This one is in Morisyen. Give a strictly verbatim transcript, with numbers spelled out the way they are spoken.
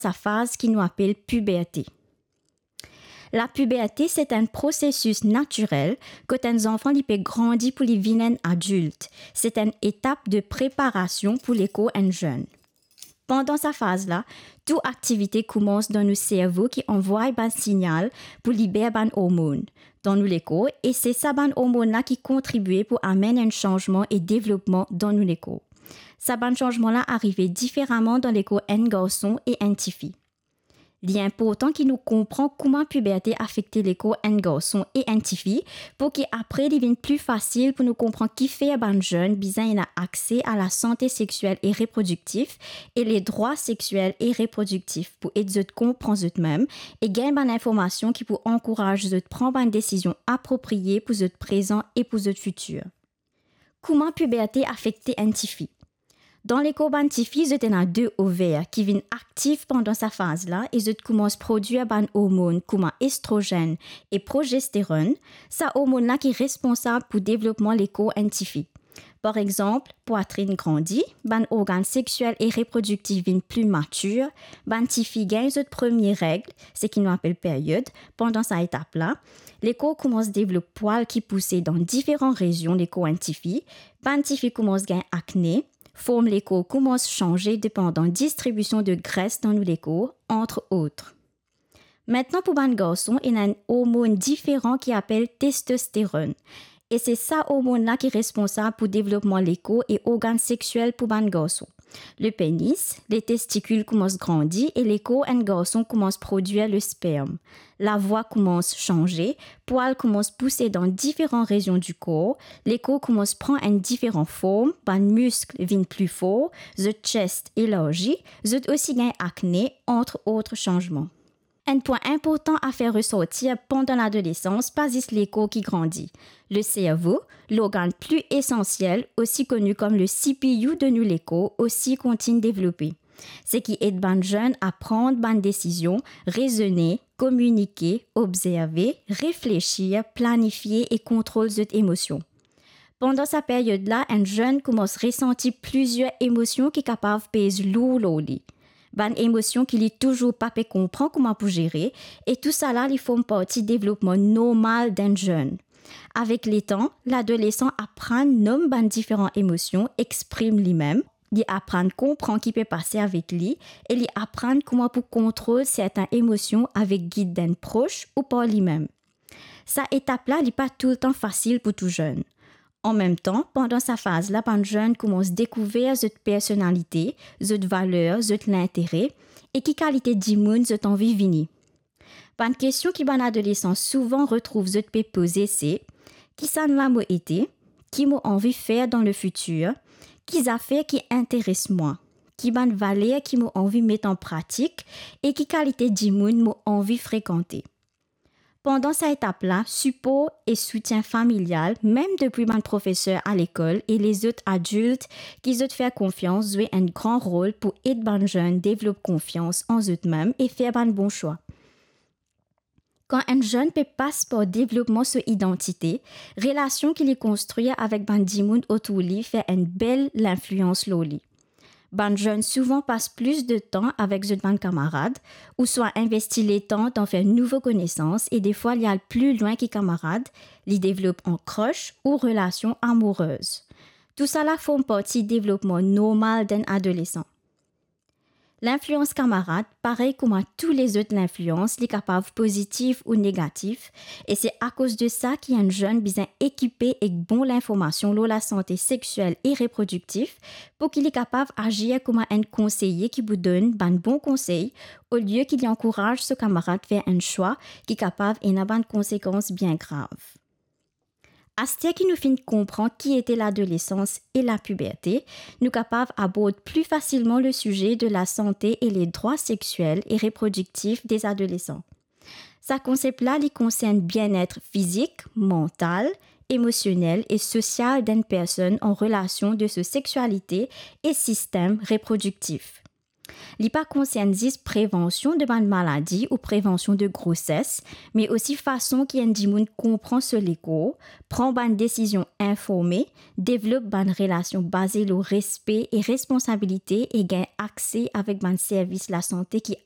sa faz ki nou apel piberte. Lapiberte, se enn prosesis natirel kot enn zanfan li pe grandi pou li vinn enn adilt. Se enn etap de preparasion pou lekor enn zenn. Pandan sa faz la, tou aktivite koumans dan nou servo ki anvway bann signal pou liber bann ormonn dan nou lekor, e se sa bann ormonn la ki kontribie pou amenn enn sanzman e devlopman dan nou lekor. Sa bann sanzman la arive diferaman dan lekor enn garson e enn tifi. Li inportan ki nou konpran kouma piberte afekte lekor enn garson e enn tifi, pou ki apre li vinn pli fasil pou nou konpran kifer bann zenn bizin ena akse a lasante sexiel e reprodiktif e ledrwa sexiel e reprodiktif, pou ed zot konpran zot mem e gagn bann informasion ki pou ankouraz zot pran bann desizion apropriye pou zot prezan e pou zot fitir. Kouma piberte afekte enn tifi? Dan lekor bann tifi, zot ena de over ki vinn aktif pandan sa faz la e zot koumans prodwir bann ormonn kouma estrozenn e progesteronn, sa ormonn la ki responsab pou devlopman lekor enn tifi. Par exanp, pwatrinn grandi, bann organn sexiel e reprodiktif vinn pli matir, bann tifi gagn zot premie reg, seki nou apel peryod, pandan sa etap la, lekor koumans devlop pwal ki pouse dan diferan rezion lekor enn tifi, bann tifi koumans gagn akne, form lekor koumans sanze depandan distribision de gres dan nou lekor, entre autres. Aster pou bann garson, ena enn ormonn diferan ki apel testosteronn. E se sa ormonn la ki responsab pou devlopman lekor e organn sexiel pou bann garson. Le penis, le testikil koumans grandi e lekor enn garson koumans prodwir le sperm. Lavwa koumans sanze, pwal koumans pouse dan diferan rezion dikor, lekor koumans pran enn diferan form, bann misk vinn pli for, zot chest elarzi, zot osi gagn akne, entre autres sanzman. Enn pwin inportan a fer resortir pandan ladolesans, pa zis lekor ki grandi. Le servo, lorgann pli esansiel, osi koni kom le C P U de nou lekor, osi kontign devlope. Seki ed bann zenn a pran bann desizion, rezone, kominike, obzerve, reflesir, planifie e kontrol zot emosion. Pandan sa peryod la, enn zenn koumans resanti plizier emosion ki kapav pez lour lor li. Bann emosion ki li touzour pa pe konpran kouma pou zere, e tousala li form parti devlopman normal d'enn zenn. Avek letan, ladolesan aprann nom bann diferan emosion, exprim limem, li aprann konpran ki pe pase avek li, e li aprann kouma pou kontrol sertin emosion avek gid d'enn pros ou par limem. Sa etap la, li pa toultan fasil pou tou zenn. Anmemtan, pandan sa faz la, bann zenn koumans dekouver zot personalite, zot valer, zot lintere, e ki kalite dimoun zot anvi vini. Bann kestion ki bann adolesan souvan retrouv zot pe poze se, kisannla mo ete, ki mo anvi fer dan le fitir, ki zafer ki interes mwa, ki bann valer ki mo anvi met an pratik, e ki kalite dimoun mo anvi frekante. Pandan sa etap la, sipor e soutien familial, mem depi bann profeser a lekol e lezot adilt ki zot fer konfians, zwe enn gran rol pou ed bann zenn devlop konfians an zot mem e fer bann bon swa. Kan enn zenn pe pas par devlopman so idantite, relasion ki li konstrir avek bann dimoun otour li fer enn bel linflians lor li. Bann zenn souvan pas plis de tan avek zot bann kamarad, ouswa investi letan dan fer nouvo konesans, e defwa li al pli lwin ki kamarad, li devlop an crush ou relasion amourez. Tousala form parti devlopman normal d'enn adolesan. Linflians kamarad, parey kouma tou lezot linflians, li kapav pozitif ou negatif, e se akoz de sa ki enn zenn bizin ekipe ek bon linformasion lor lasante sexiel e reprodiktif, pou ki li kapav azir kouma enn konseye ki pou donn bann bon konsey, olie ki li ankouraz so kamarad fer enn swa ki kapav ena bann konsekans bien grav. Aster ki nou finn konpran ki ete ladolesans e lapiberte, nou kapav abord pli fasilman le size de lasante e ledrwa sexiel e reprodiktif des adolesans. Sa konsep la, li konsern bienet fizik, mantal, emosionel e sosial d'enn personn an relasion de so sexialite e sistem reprodiktif. Li pa konsern zis prevansion de bann maladi ou prevansion de groses, me osi fason ki enn dimoun konpran so lekor, pran bann desizion informe, devlop bann relasion baze lor respe e responsabilite e gagn akse avek bann servis lasante ki